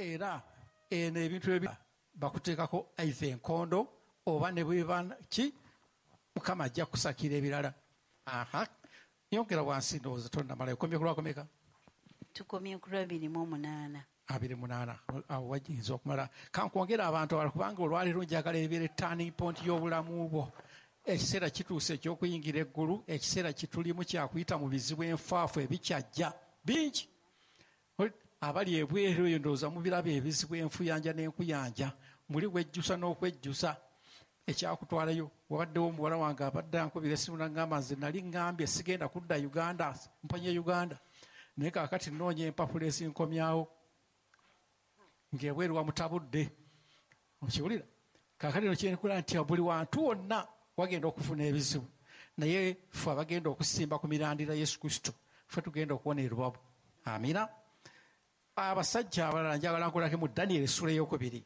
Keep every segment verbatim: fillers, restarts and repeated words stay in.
Era eno ebintu ebi bakuteekako either enkondo oba ne bweba ki, Mukama ajja kusakira ebirala. Aha, yongera wansi, ndowooza tonnamalayo. Okomye ku lwakomeka? Tukomye ku lwabiri mu omunaana. Abiri munaana, awo wajinza okumala. Kankwongera abantu abalala, kubanga olwaleero njagala ebeere turning point y'obulamu bwo. Ekiseera kituuse eky'okuyingira eggulu, ekiseera kitulimu kyakuyita mu bizibu enfaafu ebikyajja bingi. Abali ebweru eyo ndowooza mubiraba ebizibu, enfuyanja n'enkuyanja, muli wejjusa n'okwejjusa ekyakutwalayo. Wabaddewo omuwala wange abadde ankubira essimu n'aŋŋamba, nze nali ŋŋambye sigenda kudda Uganda, mponye Uganda, naye kaakati nnoonya empapula ezinkomyawo, ng'ebweru wamutabudde. Okiwulira? Kaakati no kyenkula nti buli wantu wonna wagenda okufuna ebizibu, naye ffe abagenda okusimba ku mirandira Yesu Kristo, ffe tugenda okuwona erubabu. Amina. Abasajja abalala njagala nkolako mu Daniel essula ey'okubiri.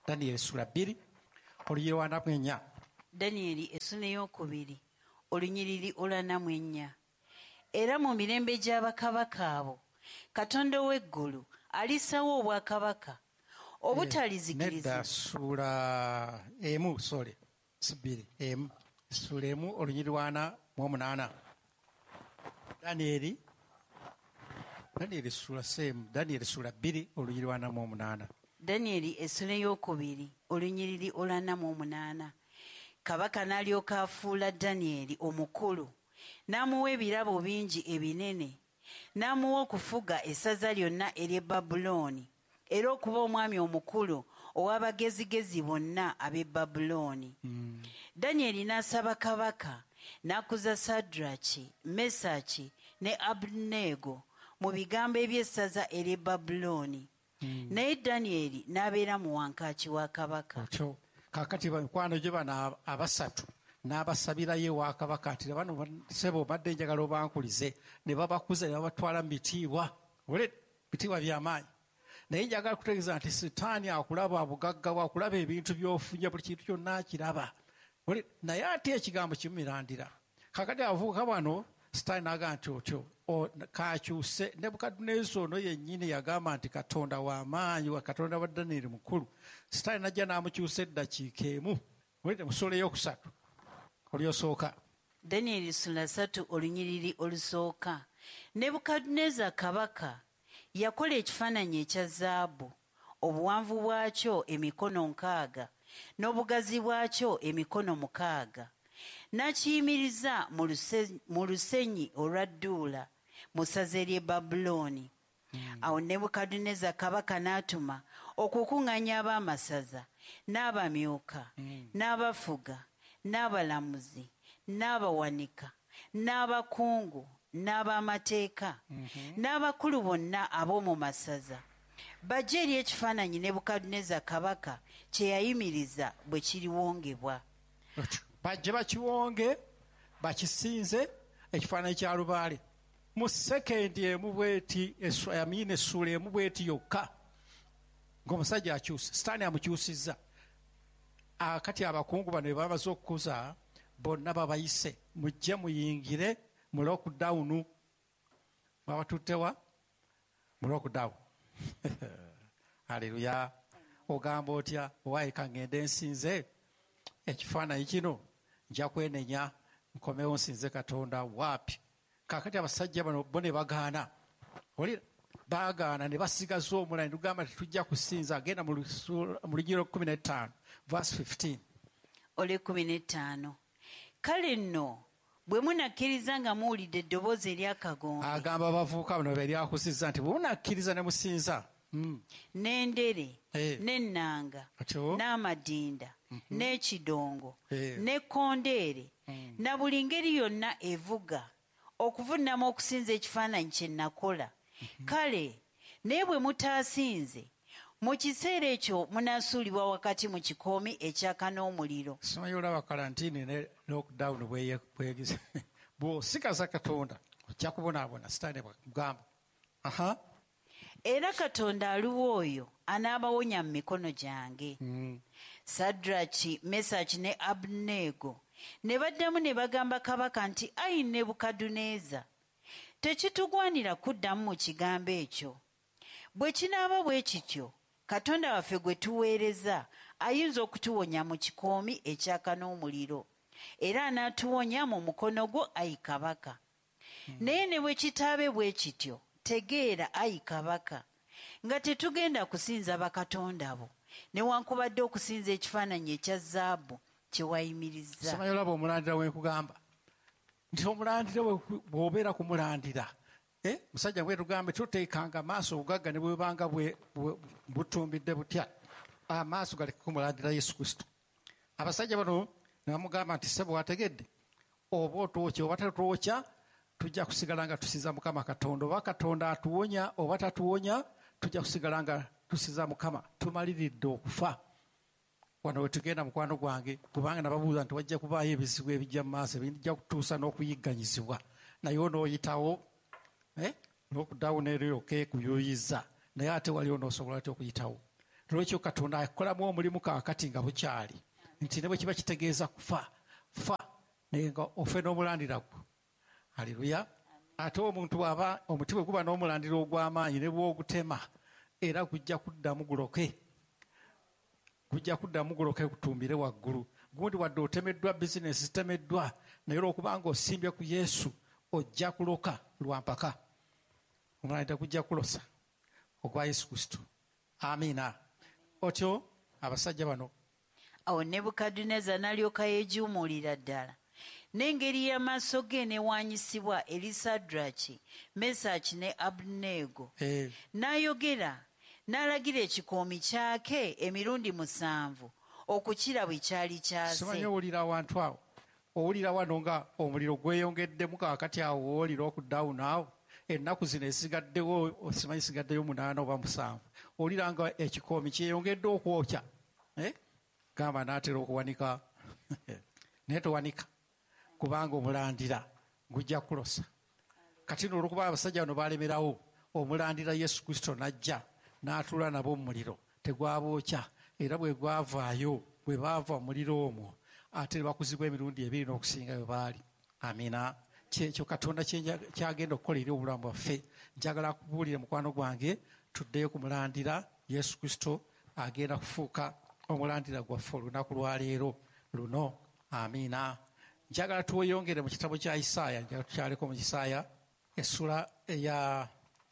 Daniel essula bbiri olunyiriri lwa ana mu ennya. Daniel essula ey'okubiri olunyiriri olwana mu ennya. Era mu mirembe gy'abakabaka abo, Katonda ow'eggulu alissawo obwakabaka obutalizikirizibwa. Nedda, ssuula emu, sorry, si bbiri, emu. Ssuula emu olunyiriri lwa ana mu omunaana. Daniel, Daniel ssuula semu, Daniel ssuula bbiri olunyiriri lwa ana mu omunaana. Daniel essula ey'okubiri olunyiriri olwana mu omunaana. Kabaka n'alyoka afuula Daniel omukulu, n'amuwa ebirabo bingi ebinene, n'amuwa okufuga essaza lyonna ery'e Babulooni, era okuba omwami omukulu ow'abagezigezi bonna ab'e Babulooni. Mm. Daniel n'asaba kabaka n'akuza Sadraki, Mesaki ne Abeduneego mu bigambo eby'essaza ery'e Babulooni. Mm. Naye Daniel n'abeera mu wankaaki wa kabaka. Otyo. Kaakati mikwano gye bano abasatu n'abasabirayo ewa kabaka nti bano ssebo mbadde njagala obankulize, ne babakuza ne babatwala mu bitiibwa. Ole, bitiibwa by'amaanyi. Naye njagala kutegeeza nti Sitaani akulaba bugagga bwe, akulaba ebintu by'ofunye, buli kintu kyonna akiraba. Ole, naye ate ekigambo kimumirandira. Kaakati abavubuka bano Sitaani n'agamba nti otyo, o, kakyuse. Nebukadduneeza ono yennyini yagamba nti Katonda w'amaanyi, wa Katonda wa Daniel mukulu. Sitaani n'ajja n'amukyusa eddakiika emu. Olidde mu ssuula ey'okusatu olyosooka. Daniel ssuula ssatu olunyiriri olusooka. Nebukadduneeza kabaka yakola ekifaananyi ekya zaabu, obuwanvu bwakyo emikono nkaaga, n'obugazi bwakyo emikono mukaaga. N'akiyimiriza mu luse-, mu lusenyi olwa Dduula mu ssaza ery'e Babulooni. Hmm. Awo Nebukadduneeza kabaka n'atuma okukuŋŋaanya ab'amasaza, n'abamyuka, Hmm. n'abafuga, n'abalamuzi, n'abawanika, n'abakungu, n'ab'amateeka, Mm-hmm. n'abakulu bonna ab'omu masaza, bajje eri ekifaananyi Nebukadduneeza kabaka kye yayimiriza bwe kiriwongebwa. Bajje bakiwonge, bakisinze ekifaananyi kya lubaale. Mu sekendi emu bw'eti, essu-, amiina, essuula emu bw'eti yokka, ng'omusajja akyuse, Sitaani amukyusizza. Akati abakungu bano bwe bamaze okukuza, bonna babayise, mujje muyingire mu lockdown. Babatutte wa? Mu lockdown. Haleluya. Ogamba otya? Owaaye ka ŋŋende nsinze ekifaananyi kino, nja kwenenya, nkomewo nsinze Katonda. Waapi? Kaakati abasajja bano bo ne bagaana. Olira? Baagaana ne basigaza omulala, ne tugamba tetujja kusinza. Agenda mu lusu-, mu lunyiriri lw'ekkumi n'ettaano, verse fifteen. Olw'ekkumi n'ettaano. Kale nno bwe munakkiriza nga muwulidde eddoboozi ery'akagombe. Agamba abavubuka bano be lyakusizza nti bwe munakkiriza ne musinza. Mm. N'endere, Eh. n'ennanga, Atyo. n'amadinda, Mm-hmm. n'ekidongo, Eh. n'ekkondeere, Mm. na buli ngeri yonna evuga, okuvunnama okusinza ekifaananyi kye nakola. Mm-hmm. Kale, naye bwe mutaasinze, mu kiseera ekyo munaasuulibwa wakati mu kikoomi ekyaka n'omuliro. Simanyi olaba kalantiini ne lockdown bweye-, bwegeze. Bw'osikaza Katonda, ojja kubonaabona, Sitaani bw'akugamba. Aha. Era Katonda aliwo oyo anaabawonya mu mikono gyange. Mm. Sadraki, Mesaki ne Abeduneego ne baddamu ne bagamba kabaka nti, Ayi Nebukadduneeza, tekitugwanira kuddamu mu kigambo ekyo. Bwe kinaaba bwe kityo, Katonda waffe gwe tuweereza ayinza okutuwonya mu kikoomi ekyaka n'omuliro, era anaatuwonya mu mukono gwo, ayi kabaka. Hmm. Naye ne bwe kitaabe bwe kityo, tegeera, ayi kabaka, nga tetugenda kusinza bakatonda bo, newankubadde okusinza ekifaananyi ekya zaabu kye wayimirizza. Simanyi olaba omulandira we nkugamba nti omulandira bw'obeera ku mulandira, eh? Musajja bwe tugambe toteekanga amaaso obugagga ne bwebanga butumbidde butya, amaaso galeke kumulandira Yesu Kristo. Abasajja bano ne bamugamba nti ssebo wategedde, oba otwokya oba tatwokya, tujja kusigala nga tusinza Mukama Katonda, oba Katonda atuwonya oba tatuwonya, tujja kusigala nga tusinza Mukama, tumaliridde okufa. Wano we tugenda mukwano gwange, kubanga nababuuza nti wajja kubaayo ebizibu ebijja mu maaso ebijja kutuusa n'okuyigganyizibwa, naye onooyitawo eh? N'okuddawo n'eryoka ekuyuyiza, naye ate wali onoosobola atya okuyitawo? Lwekyo Katonda akolamu omulimu kaakati nga bukyali, nti ne bwe kiba kitegeeza kufa, fa, naye nga ofe n'omulandira gwo. Haleluya. Ate omuntu bw'aba omuti bwe guba n'omulandira ogw'amaanyi ne bw'ogutema, era gujja kuddamu guloke, gujja kuddamu guloke gutumbire waggulu. Gundi wadde otemeddwa, bizinesi zitemeddwa, naye olwokubanga osimbye ku Yesu ojja kuloka lwa mpaka. Omulandira gujja kulosa ogwa Yesu Kristo. Amiina. Otyo abasajja bano. Awo Nebukadduneeza n'alyoka yeejuumulira ddala, n'engeri y'amaaso ge n'ewaanyisibwa eri Sadraki, Mesaki ne Abeduneego. Eh. N'ayogera n'alagira ekikoomi kyake emirundi musanvu okukira bwe kyali kyase. Simanyi owulira awantu awo, owulira wano nga omuliro gweyongeddemu kaakati awo woolira okuddawo naawo ennaku zino esigaddewo, simanyi sigaddeyo munaana oba musanvu, owulira nga ekikoomi kyeyongedde okwokya, eh? Gamba n'atera okuwanika naye towanika, kubanga omulandira gujja kulosa. Kati nno olw'okuba abasajja bano baalemerawo, omulandira Yesu Kristo n'ajja n'atuula nabo mu muliro, tegwabookya, era bwe gwavaayo, bwe baava mu muliro omwo, ate ne bakuzibwa emirundi ebiri n'okusinga bwe baali. Amiina. Kyekyo Katonda kyagenda okukola eri obulamu bwaffe. Njagala kubuulira mukwano gwange, tuddeyo ku mulandira Yesu Kristo agenda kufuuka omulandira gwaffe olunaku lwaleero luno. Amiina. Njagala tuweyongere mu kitabo kya Isaaya, njagala tukyaleko mu Isaaya essula eya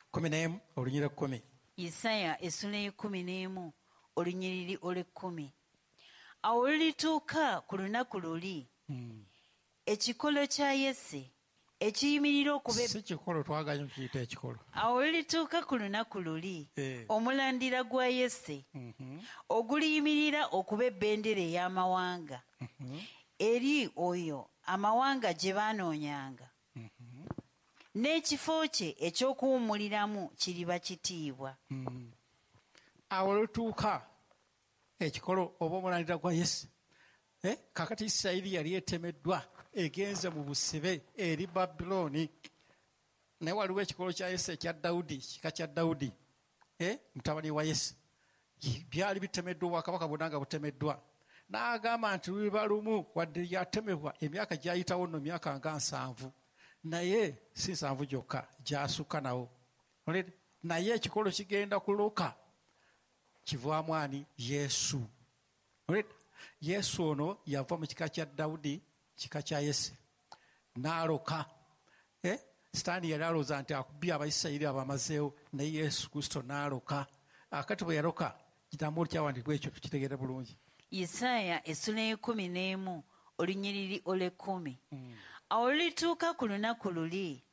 kkumi n'emu olunyiriri ekkumi. Isaaya essula ey'ekkumi n'emu olunyiriri olw'ekkumi. Awo lulituuka ku lunaku luli, hmm. ekikolo kya Yese ekiyimirira okuba si kikolo, twaganya okiyita ekikolo. Awo lulituuka ku lunaku luli, eh. omulandira gwa Yese mm -hmm. oguliyimirira okuba ebendera ey'amawanga, mm -hmm. eri oyo amawanga gye baanoonyanga, mm -hmm. n'ekifo kye eky'okuwummuliramu kiriba kitiibwa. Mm. Awo lutuuka ekikolo oba omulandira gwa Yese. Eh? Kakati Isirayiri yali etemeddwa egenze mu busibe eri Babulooni, naye waliwo ekikolo kya Yese ekya Dawudi, kika kya Dawudi, eh? Mutabani wa Yese, byali bitemeddwa, obwakabaka bwonna nga butemeddwa. N'agamba nti luliba lumu, wadde yatemebwa emyaka gyayitawo nno myaka nga nsanvu, naye si nsanvu gyokka, gyasukka nawo, naye ekikolo kigenda kuloka kivaamu ani? Yesu. Yesu ono yava mu kika kya Dawudi, kika kya Yese, n'aloka. Eh? Sitaani yali alowooza nti akubye Abayisirayiri abamazeewo, naye Yesu Kristo n'aloka. Akati bwe yaloka, kitamu kyawandiikibwa ekyo tukitegeere bulungi. Isaaya essula ey'ekkumi n'emu olunyiriri olw'ekkumi. Mm. Awo lulituuka ku lunaku luli,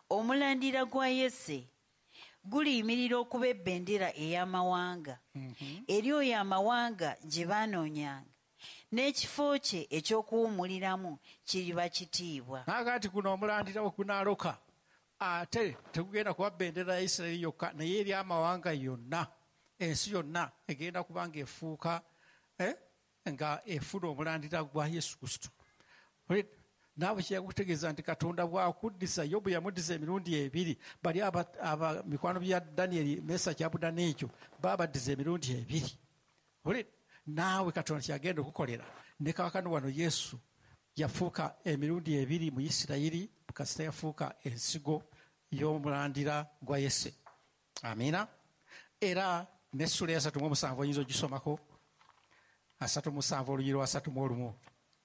omulandira gwa Yese guliyimirira okuba ebendera ey'amawanga, mm -hmm. eri oyo amawanga gye baanoonyanga, n'ekifo kye eky'okuwummuliramu kiriba kitiibwa. N'agamba guno omulandira bwe gunaaloka, ate tegugenda kuba bendera ya Isirayiri yokka, naye eri amawanga yonna, ensi yonna egenda kuba ng'efuuka eh, nga efuna omulandira gwa Yesu Kristo. Naawe kyeyakutegeeza nti Katonda bw'akuddisa, Yobu yamuddiza emirundi ebiri, bali aba mikwano bya Danieri, Mesaki, Abeduneego baabaddiza emirundi ebiri. Naawe Katonda kyagenda okukolera. Ne kaakano wano Yesu yafuuka emirundi ebiri mu Isirayiri, kasita yafuuka ensigo y'omulandira gwa Yese. Amiina. Era N'essula eyasatu mu omusanvu oyinza ogisomako, asatu musanvu olunyiriri lwa asatu mu olumu.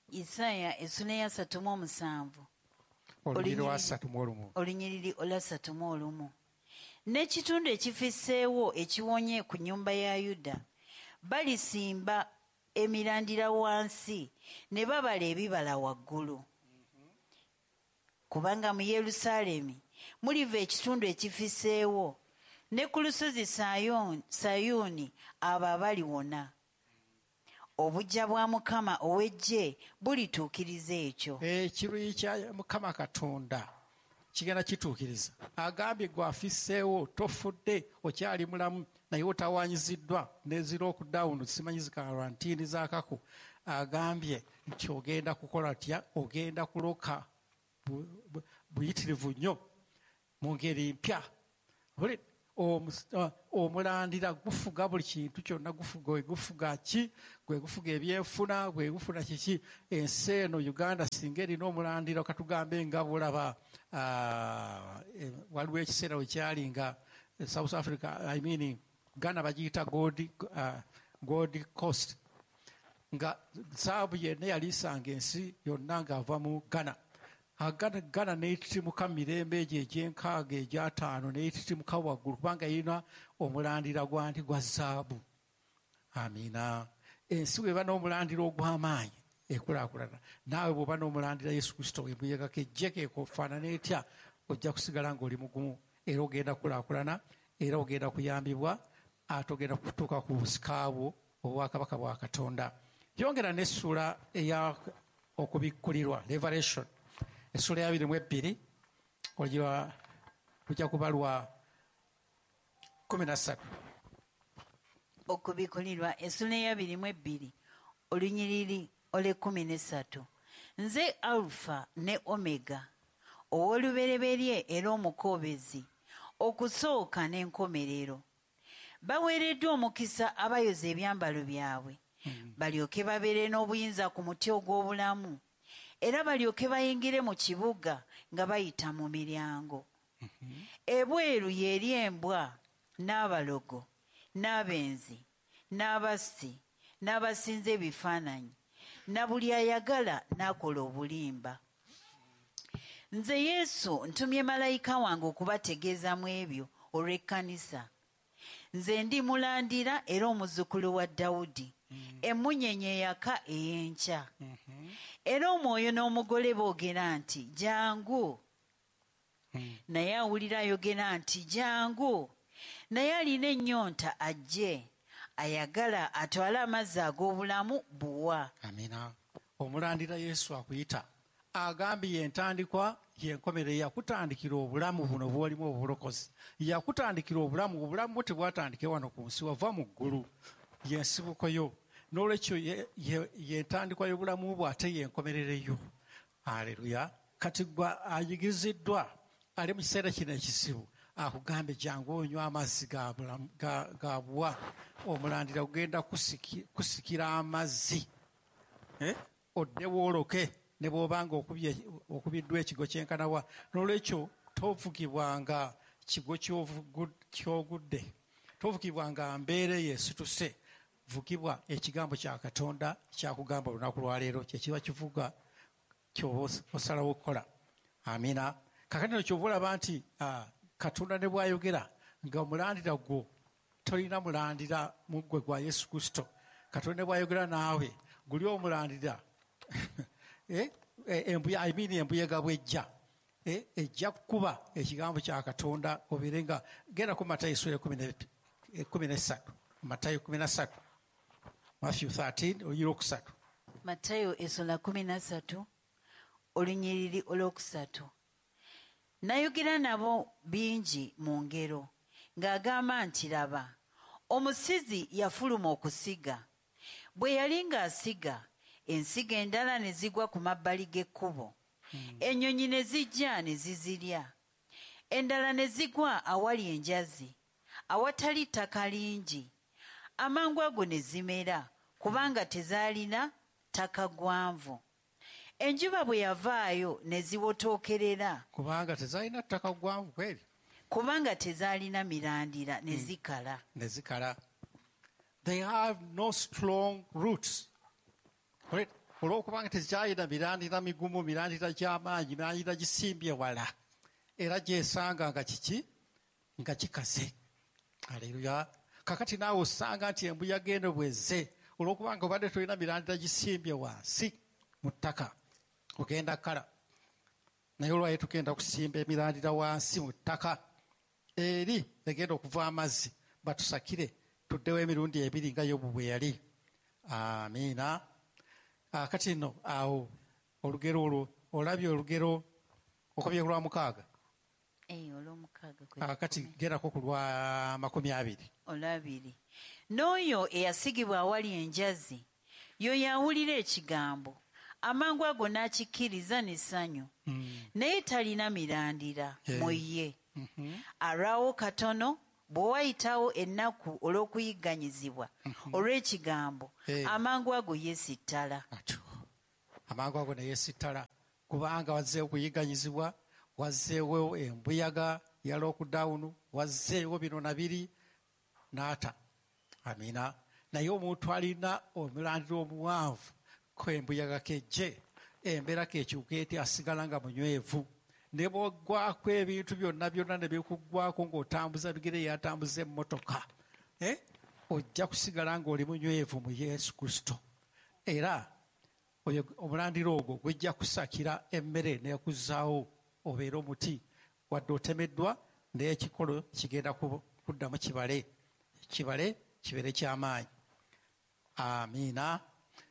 Isaaya essula eyasatu mu omusanvu olunyiriri lwa asatu mu olumu. Olunyiriri olwasatu mu olumu. N'ekitundu ekifisseewo ekiwonye ku nnyumba ya Yuda balisimba emirandira wansi ne babala ebibala waggulu. Kubanga mu Yerusaalemi muliva ekitundu ekifisseewo, ne ku lusozi Sayuuni abo abaliwona. Obujja bwa Mukama ow'eggye bulituukiriza ekyo. Ekiruyi kya Mukama Katonda kigenda kituukiriza. Agambye gwe afisseewo, tofudde, okyali mulamu, naye otawaanyiziddwa n'ezi lockdown, simanyi zi quarantine z'akako. Agambye nti ogenda kukola tya? Ogenda kuloka buyitirivu nnyo mu ngeri mpya. Omulandira gufuga buli kintu kyonna, gufuga gufuga ki, gwe gufuga ebyenfuna, gwe gufuna kiki. Ensi eno Uganda singa erina omulandira, katugambe nga bulaba waliwo ekiseera we kyali nga South Africa, I mean Ghana bagiyita Gold, uh, Gold Coast, nga zaabu yenna yaliisanga ensi yonna ng'ava mu Ghana. Ghana, Ghana n'etitimuka mirembe egyo egy'enkaaga egy'ataano n'etitimuka waggulu kubanga erina omulandira gwa nti gwa zaabu. Amiina. Ensi bw'eba n'omulandira ogw'amaanyi ekulaakulana. Naawe bw'oba n'omulandira Yesu Kristo embuyaga kejje keefaanana etya, ojja kusigala ng'oli mugumu era ogenda kulaakulana era ogenda kuyambibwa ate ogenda kutuuka ku busika bwo obwakabaka bwa Katonda. Yongera n'essuula eya okubikkulirwa, Revelation, essula ya abiri mu ebbiri lujja kuba lwa kkumi na ssatu. Okubikkulirwa essula ya abiri mu ebbiri olunyiriri olw'ekkumi n'essatu. Nze Alufa ne Omega, ow'olubereberye era omukoobezi, okusooka n'enkomerero. Baweereddwa omukisa abayoza ebyambalo byabwe, balyoke babeere n'obuyinza ku muti ogw'obulamu, era balyoke bayingire mu kibuga nga bayita mu miryango. Ebweru y'eri embwa n'abalogo n'abenzi n'abassi n'abasinza ebifaananyi na buli ayagala n'akola obulimba. Nze Yesu ntumye malayika wange okubategeeza mu ebyo olw'ekkanisa. Nze ndi mulandira era omuzzukulu wa Dawudi, emmunyenye eyaka ey'enkya. Era omwoyo n'omugole boogera nti jangu. Naye awulira ayogera nti jangu. Naye alina ennyonta ajje, ayagala atwale amazzi ag'obulamu buwa. Amina. Omulandira Yesu akuyita, agambye entandikwa y'enkomerero. Yakutandikira obulamu buno bw'olimu obulokozi, yakutandikira obulamu, obulamu bwo tebwatandike wano ku nsi, wava mu ggulu, y'ensibuko yo. N'olwekyo y'entandikwa y'obulamu bwo ate y'enkomerero yo. Aleluya. Kati gwe ayigiriziddwa ali mu kiseera kino ekizibu, akugambe jangu onywa amazzi ga buwa. Omulandira gugenda kusikira amazzi, odde wooloke ne bw'obanga okubiddwa ekigo kyenkanawa. N'olwekyo tovugibwanga kigo ky'ogudde, tovugibwanga mbeera eyo esituse, vugibwa ekigambo kya Katonda kyakugamba olunaku lwaleero, kyekiba kivuga ky'oba osalawo okukola. Amiina. Kakati ky'oba olaba nti Katonda ne bw'ayogera nga omulandira gwo tolina mulandira mu ggwe gwa Yesu Kristo, Katonda ne bw'ayogera naawe guli omulandira I mean embuyega bw'ejja ejja kukuba ekigambo kya Katonda obeere nga genda ku Matayo essula ekkumi n'essatu. Matayo kkumi na ssatu, Matthew thirteen olunyiriri olwokusatu. Matayo essula kkumi na ssatu olunyiriri olwokusatu. Nayogera nabo bingi mu ngero ng'agamba nti laba, omusizi yafuluma okusiga. Bwe yali ng'asiga, ensigo endala ne zigwa ku mabbali g'ekkubo, ennyonyi ne zijja ne zizirya. Endala ne zigwa awali enjazi, awatali ttaka lingi. Amangu ago ne zimera, kubanga tezaalina ttaka gwanvu. Enjuba bwe yavaayo ne ziwotookerera, kubanga tezaalina ttaka gwanvu kweri, kubanga tezaalina mirandira ne zikala. Ne zikala. They have no strong roots. Olwokubanga tekyalina mirandira migumu, mirandira gy'amaanyi, mirandira gisimbye wala, era gyesanga nga kiki? Nga kikaze. Aleluya. Kakati naawe osanga nti embuyaga eno bwezze, olwokubanga obadde tolina mirandira gisimbye wansi mu ttaka, ogenda kala. Naye olwayo tugenda kusimba emirandira wansi mu ttaka, eri egenda okuva amazzi batusakire tuddewo emirundi ebiri nga Yobu bwe yali. Amiina. Kati nno awo olugero olwo olabye, olugero okubye ku lwa mukaaga. Kati gerako ku lwa makumi abiri. Olwabiri. N'oyo eyasigibwa awali enjazi yoyo awulira ekigambo, amangu ago n'akikkiriza n'essanyu, naye talina mirandira mu ye. Alwawo katono, bwe wayitawo ennaku olw'okuyigganyizibwa olw'ekigambo, amangu ago yeesittala. Amangu ago ne yeesittala, kubanga wazzeewo okuyigganyizibwa, wazzeewo embuyaga ya lockdown, wazzeewo bino na biri, n'ata. Amiina. Naye omuntu alina omulandira omuwanvu ko embuyaga kejje, embeera kekyuka eti, asigala nga munywevu. Ne bw'oggwako ebintu byonna byonna ne bikuggwako ng'otambuza bigere yatambuza emmotoka, eh? Ojja kusigala ng'oli munywevu mu Yesu Kristo. Era omulandira ogwo gujja kusakira emmere n'ekuzzaawo obeere omuti, wadde otemeddwa, naye ekikolo kigenda kuddamu kibale, kibale kibeere ky'amaanyi. Amiina.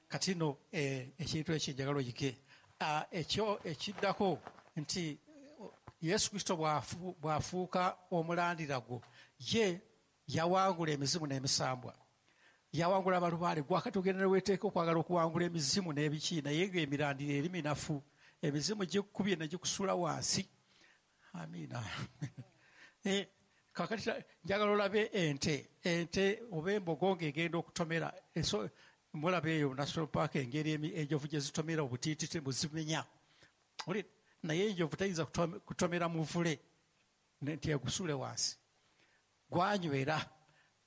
Kati nno ekintu ekyo njagala oyige. Ekyo ekiddako nti Yesu Kristo bw'afuuka omulandira gwo, ye yawangula emizimu n'emisambwa, yawangula abalubaale. Gwakati ogenda ne weeteeka okwagala okuwangula emizimu n'ebiki, naye ng'emirandira eri minafu, emizimu gikukubye ne gikusuula wansi. Amiina. Kakati njagala olabe ente, ente oba embogo ng'egenda okutomera. Mulaba eyo National Park engeri enjovu gye zitomera obutiititi buzimenya. Naye enjovu tayinza kutomera muvule nti egusule wansi, gwanywera.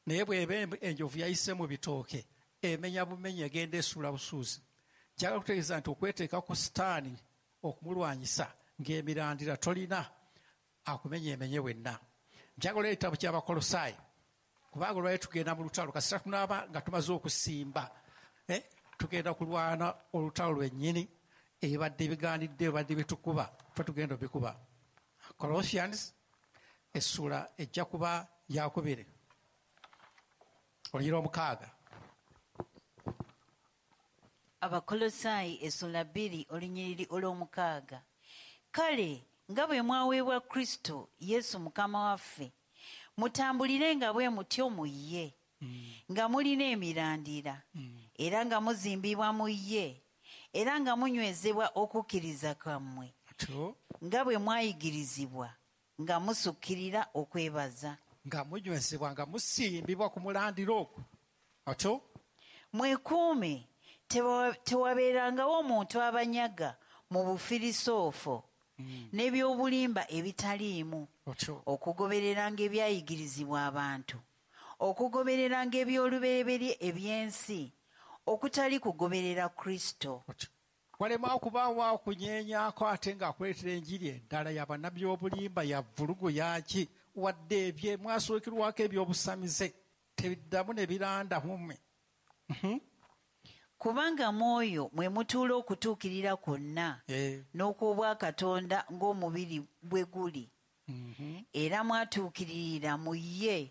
Naye bw'eba enjovu yayise mu bitooke, emenya bumenyi, egenda esuula busuuzi. Njagala kutegeeza nti okweteeka ku sitaani okumulwanyisa ng'emirandira tolina, akumenya emenye wenna. Njagala ekitabo ky'Abakolosaayi, kubanga olwayo tugenda mu lutalo. Kasita tunaaba nga tumaze okusimba, eh, tugenda kulwana olutalo lwennyini, ebibadde bigaanidde, ebibadde bitukuba, ffe tugenda obikuba. Colossians essuula ejja kuba yakubiri, olunyiriri omukaaga. Abakolosaayi essuula bbiri olunyiriri olw'omukaaga. Kale nga bwe mwaweebwa Kristo Yesu Mukama waffe, mutambulire nga bwe mutyo mu ye, nga mulina emirandira, era nga muzimbibwa mu ye, era nga munywezebwa okukkiriza kwammwe, nga bwe mwayigirizibwa, nga musukkirira okwebaza. Nga munywezebwa, nga musimbibwa ku mulandira ogwo. Atyo mwekuume, tewabeerangawo omuntu abanyaga mu bufirisoofo n'ebyobulimba ebitaliimu, okugobereranga ebyayigirizibwa abantu, okugobereranga eby'olubereberye eby'ensi, okutali kugoberera Kristo. Walema okubaawo okunyeenyako ate ng'akuleetera enjiri endala y'abannabyobulimba, ya vvulugu yaki, wadde ebye mwasookerwako eby'obusamize tebiddamu ne biranda mu mmwe. Kubanga mwoyo mwe mutuula okutuukirira kwonna n'okw'obwakatonda ng'omubiri bwe guli, era mwatuukirira mu ye,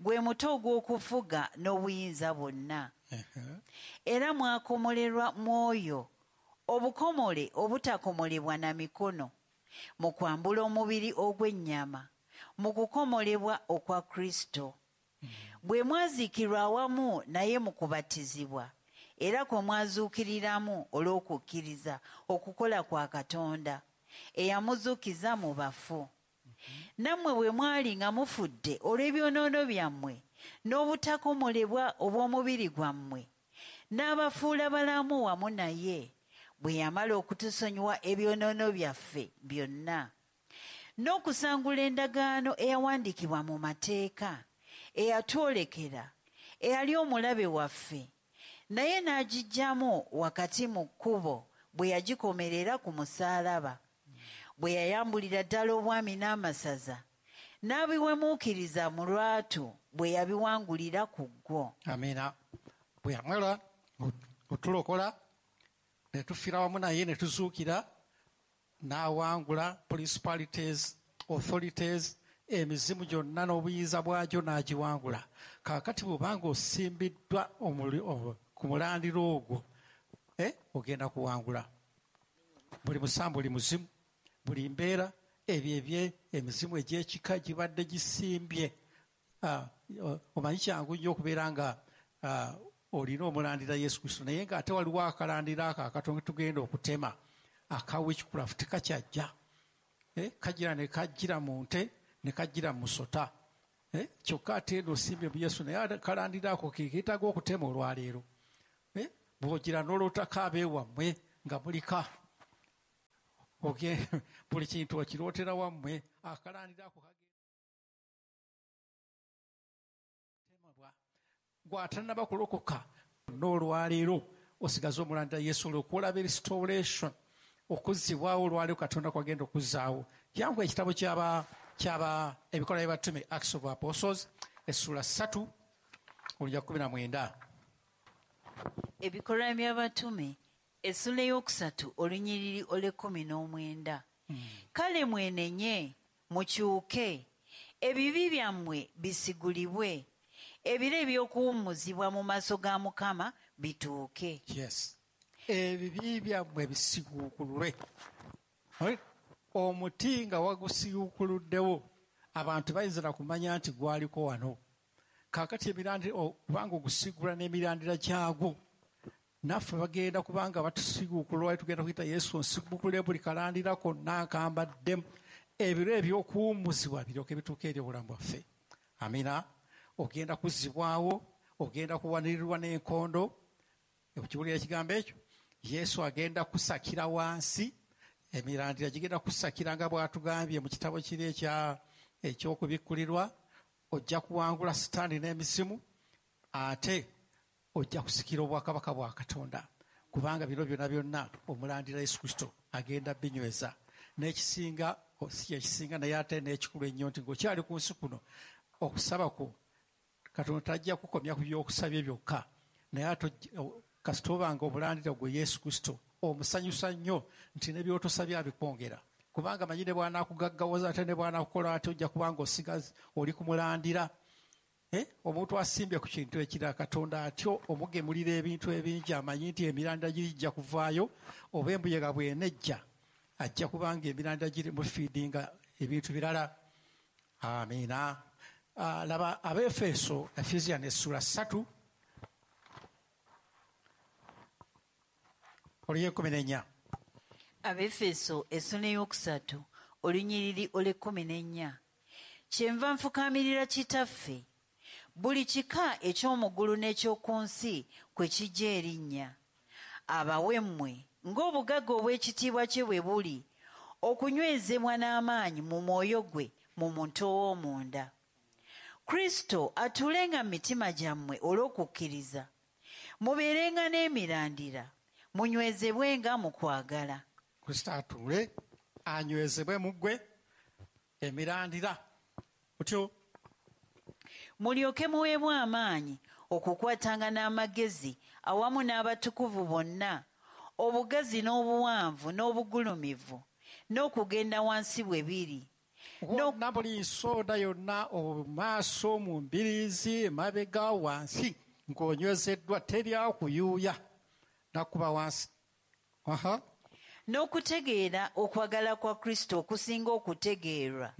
gwe muto ogw'okufuga n'obuyinza bwonna. Era mwakomolerwa mwoyo, obukomole obutakomolebwa na mikono, mu kwambula omubiri ogw'ennyama, mu kukomolebwa okwa Kristo. Bwe mwaziikirwa awamu naye mu kubatizibwa, era kwe mwazuukiriramu olw'okukkiriza okukola kwa Katonda eyamuzuukiza mu bafu. Nammwe bwe mwali nga mufudde olw'ebyonoono byammwe n'obutakomolebwa obw'omubiri gwammwe, n'abafuula balamu wamu naye bwe yamala okutusonyiwa ebyonoono byaffe byonna, n'okusangula endagaano eyawandiikibwa mu mateeka eyatwolekera, eyali omulabe waffe, naye n'agiggyamu wakati mu kkubo bwe yagikomerera ku musaalaba. Bwe yayambulira ddala obwami n'amasaza, n'abiwemuukiriza mu lwatu bwe yabiwangulira ku ggwo. Amiina. Bwe yamala otulokola ne tufiira wamu naye ne tuzuukira, n'awangula principalities, authorities, emizimu gyonna n'obuyinza bwagyo n'agiwangula. Kaakati bw'obanga osimbiddwa ku mulandiro ogwo, eh, ogenda kuwangula buli musambu, buli muzimu, buli mbeera, ebyo ebye emizimu egy'ekika gibadde gisimbye. Omanyi kyangu nnyo okubeera nga olina omulandira Yesu Kristo, naye ng'ate waliwo akalandira ako akatono tugenda okutema aka witchcraft kakyajja, kajjira ne kajjira mu nte ne kajjira mu musota, kyokka ate osimbye mu Yesu, naye akalandira ako ke keetaaga okutema olwaleero. Bw'ogira n'olootako abeewammwe nga mulika, buli kintu okirootera wammwe, akalandira ako katemebwa. Gw'atannaba kulokoka n'olwaleero osigaze omulandira Yesu olw'okulaba restoration, okuzzibwawo olwaleero Katonda kwagenda okuzzaawo. Jangu ekitabo ky'aba ky'aba Ebikolwa by'Abatume, Acts of Apostles, essula ssatu olunya kkumi na mwenda. Ebikolwa by'Abatume essula ey'okusatu olunyiriri olw'ekkumi n'omwenda. Kale mwenenye, mukyuke, ebibi byammwe bisigulibwe, ebiro eby'okuwummuzibwa mu maaso ga Mukama bituuke. Yes. Ebibi byammwe bisiguukululwe. Omuti nga wagusiguukuluddewo, abantu bayinza kumanya nti gwaliko wano. Kaakati emirandira, kubanga ogusigula n'emirandira gyagwo, naffe bagenda kubanga batusiguukulwa, tugenda kuyita Yesu nsigukule buli kalandira konna nkambaddemu, ebiro eby'okuwummuzibwa biryoke bituuke eri obulamu bwaffe. Amina. Ogenda kuzzibwawo, ogenda kuwanirirwa n'enkondo. Okiwulira ekigambo ekyo? Yesu agenda kusakira wansi, emirandira gigenda kusakira nga bw'atugambye mu kitabo kiri ekya eky'okubikkulirwa. Ojja kuwangula Sitaani n'emizimu, ate ojja kusikira obwakabaka bwa Katonda, kubanga bino byonna byonna omulandira Yesu Kristo agenda binyweza. N'ekisinga si ekisinga, naye ate n'ekikulu ennyo nti ng'okyali ku nsi kuno, okusaba kwo Katonda tajja kukomya ku by'okusabye byokka, naye ate kasita obanga omulandira gwe Yesu Kristo omusanyusa nnyo nti ne by'otosabye abikwongera, kubanga manyi ne bw'anaakugaggawaza ate ne bw'anaakukola ate ojja kubanga osigaza oli kumulandira. Eh, omuntu asimbye ku kintu ekirala, Katonda atyo omugemulira ebintu ebingi, amanyi nti emirandira girijja kuvaayo, oba embuyaga bw'enejja ajja kubanga emirandira giri mufiidinga ebintu birala. Amiina. Laba Abeefeso, Ephesians essula ssatu olunya ekkumi n'ennya. Abeefeso essula ey'okusatu olunyiriri olw'ekkumi n'ennya. Kyenva nfukaamirira Kitaffe, buli kika eky'omu ggulu n'eky'oku nsi kwe kijja erinnya, abawe mmwe ng'obugagga obw'ekitiibwa kye bwe buli, okunywezebwa n'amaanyi mu mwoyo gwe mu muntu ow'omunda. Kristo atuulenga mu mitima gyammwe olw'okukkiriza, mubeerenga n'emirandira, munywezebwenga mu kwagala. Kristo atuule anywezebwe mu ggwe emirandira otyo, mulyoke muweebwe amaanyi okukwatanga n'amagezi awamu n'abatukuvu bonna, obugazi n'obuwanvu n'obugulumivu n'okugenda wansi bwe biri, wonna buli nsonda yonna, omumaaso, mu mbiriizi, emabega, wansi, ng'onywezeddwa, teri akuyuuya nakuba wansi. Aha. N'okutegeera okwagala kwa Kristo okusinga okutegeerwa,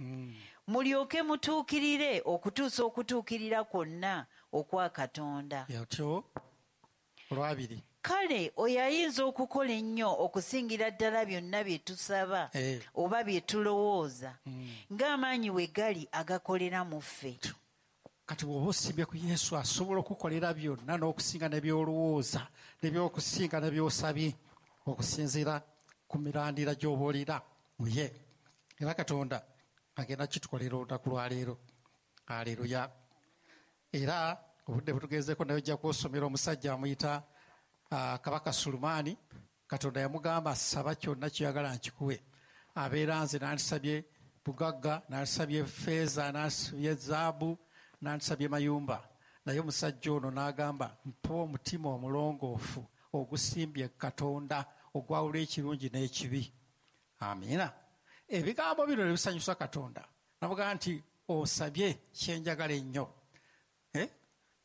mulyoke mutuukirire okutuusa okutuukirira kwonna okwa Katonda. Yatyo olwabiri. Kale oyo ayinza okukola ennyo okusingira ddala byonna bye tusaba Eh. oba bye tulowooza, ng'amaanyi we gali agakolera mu ffe. Kati bw'oba osimbye ku Yesu, asobola okukolera byonna n'okusinga ne by'olowooza ne by'okusinga ne by'osabye, okusinziira ku mirandira gy'oba olina mu ye. Era Katonda agenda kitukolera olunaku lwaleero. Aleluya. Era Obudde butugezeeko, naye ojja kwosomera omusajja amuyita uh, Kabaka Sulumaani. Katonda yamugamba, "Saba kyonna kyoyagala nkikuwe." Abeera nze nandisabye bugagga, nandisabye feeza, nandisabye zaabu, nandisabye mayumba, naye omusajja ono n'agamba, "Mpa omutima omulongoofu ogusimbye Katonda, ogwawula ekirungi n'ekibi." Amiina. Ebigambo bino ne bisanyusa Katonda, namugamba nti, "Osabye kyenjagala ennyo, eh?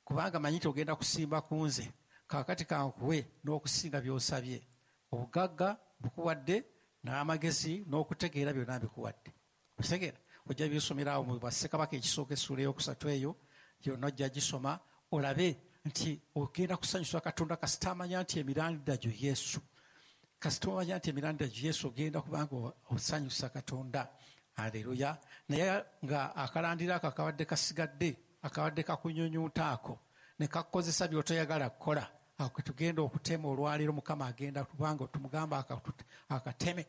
Kubanga manyi nti ogenda kusimba ku nze. Kaakati kankuwe n'okusinga by'osabye. Obugagga bukuwadde, n'amagezi n'okutegeera byonna mbikuwadde." Okitegeera? Ojja byosomera awo mu Bassekabaka ekisooka essuula eyokusatu, eyo yonna ojja gisoma olabe nti ogenda kusanyusa Katonda kasita amanya nti emirandira gyo Yesu. Kasita omanya nti emirandira gyo Yesu, ogenda kubanga osanyusa Katonda. Aleluya. Naye nga akalandira ako akabadde kasigadde, akabadde kakunyunyunta ako ne kakukozesa by'otoyagala kukola, ako ketugenda okutema olwaleero. Mukama agenda kubanga tumugamba akateme.